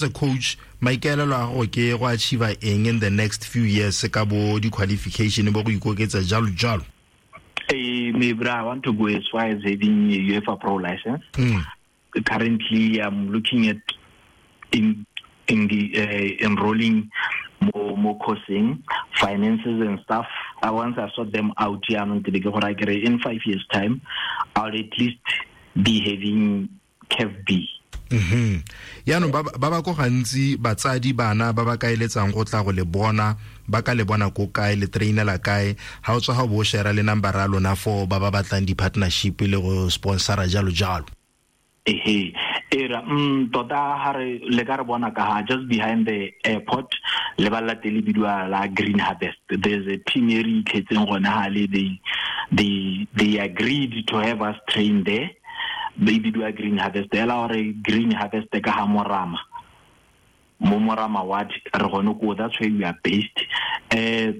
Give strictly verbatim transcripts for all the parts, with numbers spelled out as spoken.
A coach, maikaelelo a gago ke go achieve eng in the next few years ka bo di-qualification bo go ikoketsa jalo jalo? Hey, me bra, I want to go as far as having a UEFA Pro license. Mm. Currently, I'm looking at in in the uh, enrolling more more coursing, finances and stuff. I once I sort them out here, in five years' time, I'll at least be having C A F B. Mhm. Yaanong ba ba ba ko gantsi batsadi bana ba ba kaeletsang go tla go le bona, ba ka le bona ko kae, le trainela kae, ha o tswa ga bo share le number ya lona for ba ba batlang di-partnership le go sponsora jalo jalo. Ehe, era, mm, tota ha re le ka re bona ka ha just behind the airport le ba latele bidiwa la Green Harvest. There's a team e re itlhetseng gone ha le, they, they, they agreed to have us train there. Ba bidiwa Green Harvest. Ela hore Green Harvest ka ha Morama. Mo Morama ward re gone ko, that's where we are based. Uh,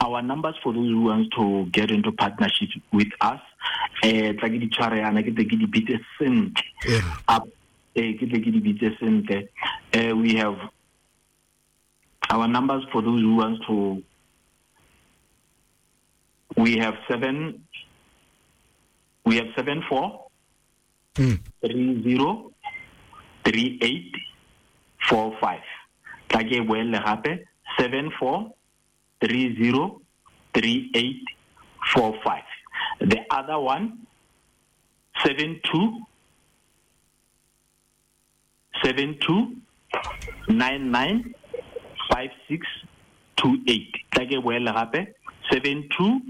our numbers for those who want to get into partnership with us, eh, tla ke di tshware yana, ke tle ke di bitse sentle. Yeah. Up, eh, ke tle ke di bitse sentle. Eh, we have our numbers for those who want to, we have seven, we have seven four, Hmm. three zero, three eight, four five. Tla ke boele gape, seven four, three zero, three eight, four five. The other one, seven two, seven two, nine nine, five six, two eight. Tla ke boele gape, seven two,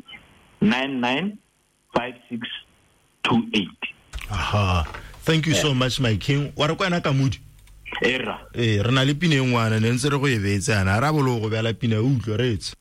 nine nine, five six, two eight. Aha. Thank you so much, my king. Wa re kwena ka modi? Era. Eh, re na le pina e ngwana, ne ntse re go e beetse yana. Ra bolo go beela pina, o utlwe, re etse.